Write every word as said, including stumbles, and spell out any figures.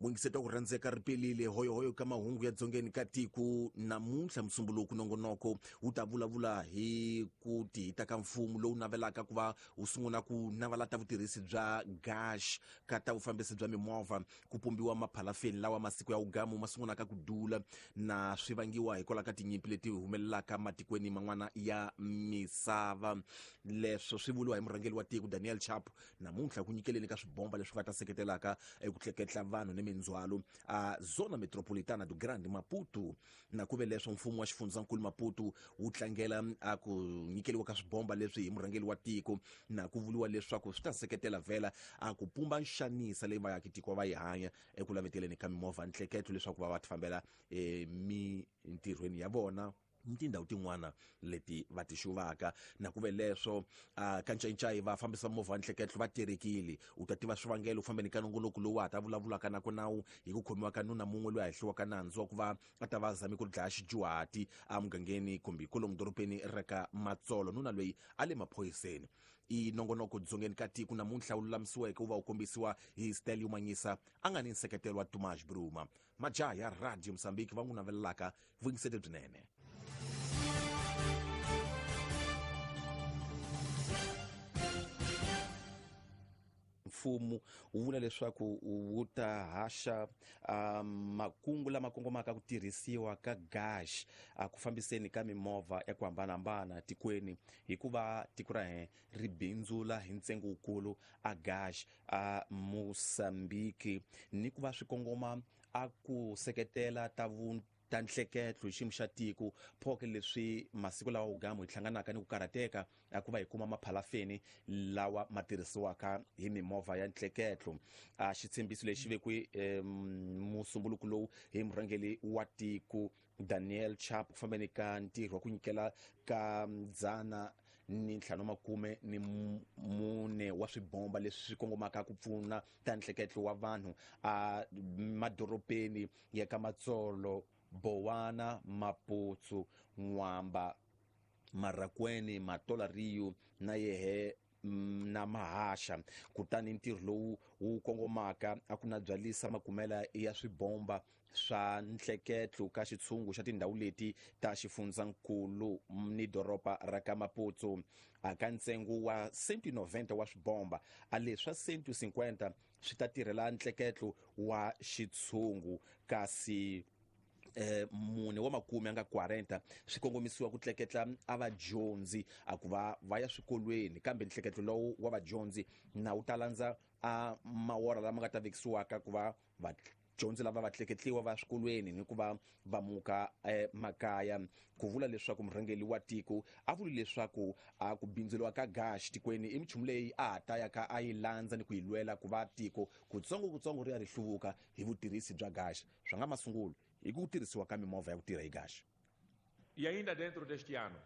Mwingiseto ku rhandzeka ri pelile hoyohoyo ka mahungu ya dzongeni ka tiko namuntlha musumbuluku nongonoko wu ta vulavula hi ku tihita ka mfumo lowu navelaka ku va wu sungula ku navalata vutirhisi bya gash ka ta vufambisi bya mimovha ku pumbiwa maphalafeni lawa masiku ya ugamu ma sungulaka ku dula na swi vangiwa hikwalaho ka tinyimpi leti humelelaka matikweni man'wana ya misava. Leswo swi vuriwa hi murhangeri wa tiko Daniel Chapo namuntlha ku nyikeleni ka swibomba leswi nga ta seketelaka eku tleketla vanhu ni mindzhwalo a zona metropolitana do Grande Maputo. Na ku ve leswo mfumo wa xifundzankulu Maputo wu tlangela a ku nyikeliwa ka swibomba leswi hi murhangeri wa tiko, na ku vuriwa leswaku swi ta seketela vhela a ku pumba nxanisa leyi vaakitiko va yi hanya eku laveteleni ka mimovha ntleketlo leswaku va va tifambela emintirhweni ya vona ni tindhawu tin'wana leti va ti xuvaka. Na ku ve leswo ka ncayincayi va fambisa movha wa ntleketlo va terekile. U ta tiva swivangelo u fambeni ka nongonoko lowu a ta vulavulaka na ku nawu hi ku khomiwa ka nuna mun'we loyi a hehliwaka nandzu wa ku va a ta va zame ku dlaya xidyuhati emugangeni kumbe kwalomu dorobeni ra ka Matsolo. Nuna loyi a le maphoyiseni. I nongonoko dzongeni ka tiko namuntlha wu lulamisiweke wu va wu kombisiwa hi Stelio Manyisa a nga ni nseketelo wa Tomas Bruma. Majaha ya Radio Mozambique va n'wi navelelaka vuyingisete byinene. Mfumo wu vula leswaku wu ta haxa makungu lama kongomaka ku tirhisiwa ka gash a ku fambiseni ka mimovha ya ku hambanahambana tikweni, hikuva tiko ra hina ri bindzula hi ntsengo wukulu a gash a Mozambique, ni ku va swi kongoma a ku seketela ta vu ta nhleketlo hi xiyimo xa tiko. Phoke leswi masiku lawa ugamu hi hlanganaka ni ku karhateka a ku va hi kuma maphalafeni lawa ma tirhisiwaka hi mimovha ya nhleketlo. A xitshembiso lexi vekiwe musumbuluku lowu hi murhangeri wa tiko Daniel Chapo ku fambeni ka ntirho wa ku nyikela ka dzana ni ntlhanu makume ni mune wa swibomba leswi swi kongomaka ku pfuna ta nhleketlo wa vanhu a madorobeni ya ka Matsolo, Bowana, Maputo, N'wamba, Marracuene, Matola Rio na yehe na Mahasha. Kutani ntirho lowu wu kongomaka a ku na byalisa makumela ya swibomba swa nhleketlo ka xitshungu xa tindhawu leti ta xifundzankulu ni doroba ra ka Maputo. A ka ntsengo wa cento noventa wa swibomba, a leswa cento cinquenta swi ta tirhela nhleketlo wa xitshungu, kasi eh mune wa makume a nga quarenta swi kongomisiwa ku tleketla a vadyondzi a ku va va ya swikolweni, kambe nhleketlo lowu wa vadyondzi na wu ta landza a mawora lama nga ta vekisiwaka ku va vadyondzi lava va tleketliwa va swikolweni ni ku va va muka emakaya. Ku vula leswaku murhangeri wa tiko a vuli leswaku a ku bindzuriwa ka gash tikweni i minchumu leyi a ha ta ya ka a yi landza ni ku yi lwela ku va tiko kutsongo kutsongo ri ya ri hluvuka hi vutirhisi bya gash. Swa nga masungulo hi ku tirhisiwa ka mimovha ya ku tirha hi gash. E ainda dentro deste ano,